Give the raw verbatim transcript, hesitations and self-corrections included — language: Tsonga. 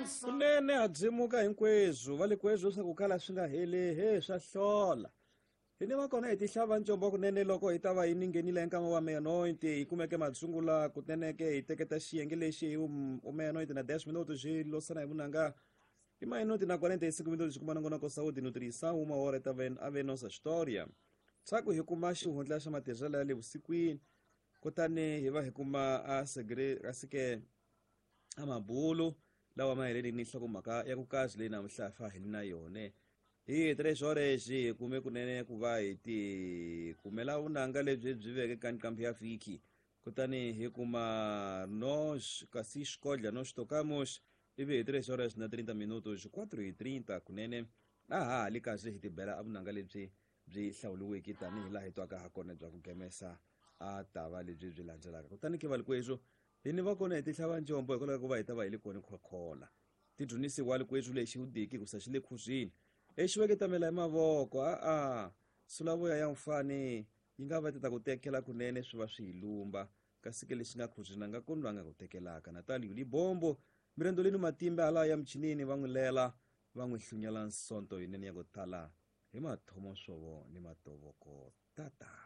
Kunene ha byimuka hinkweswo va le kweswo swa ku kala swi nga heli he swa hlola. Hi ni va kona hi tihlava ncombo kunene loko hi ta va hi ninghenile nkama wa meia-noite hi kumeke matsungula kunene ke hi teketa xiyenge lexi hi u meia-noite na dez minutos xi losana hi vunanga i meia-noite na quarenta e cinco minutos xi kuma nongonoko saúde e nutrição uma hora ta ave nossa história. Swa ku hi kuma xihundla xa matirhelo ya le vusikwini kutani hi va hi kuma a segre a sike a mabulu lawa ma heleli ni nhlokomhaka ya ku kazi leyi namuntlha fa hi na yone. Hi tres horas hi kume kunene ku va hi ti kumela vunanga lebyi byi veke ka nqambi ya vhiki kutani hi kuma nos kasi xikodla nos tocamos ivi hi tres horas na trinta minutos quatro e trinta kunene a ha ha li kahle hi tibela a vunanga lebyi byi hlawuriweke tanihi laha hi twaka ha kona bya ku gemesa a ta va lebyi byi landzelaka. Kutani ke valikweswo hi ni va kona hi tihlava njombo hikwalaho ka ku va hi ta va hi le kona khokhola tidyonisiwa likweswo lexi wu diki ku sa xi le khuzwini exi veketamela hi mavoko a a sulavoya ya mfani yi nga va ti ta ku tekela kunene swi va swi hi lumba kasi ke lexi nga khuzwini a nga koni loyi a nga ku tekelaka. Natalio Libombo mirendoleni matimba hala ya michinini va n'wi lela va n'wi hlunyela nsonto yinene ya ku tala hi mathomo swovo ni matovoko tata.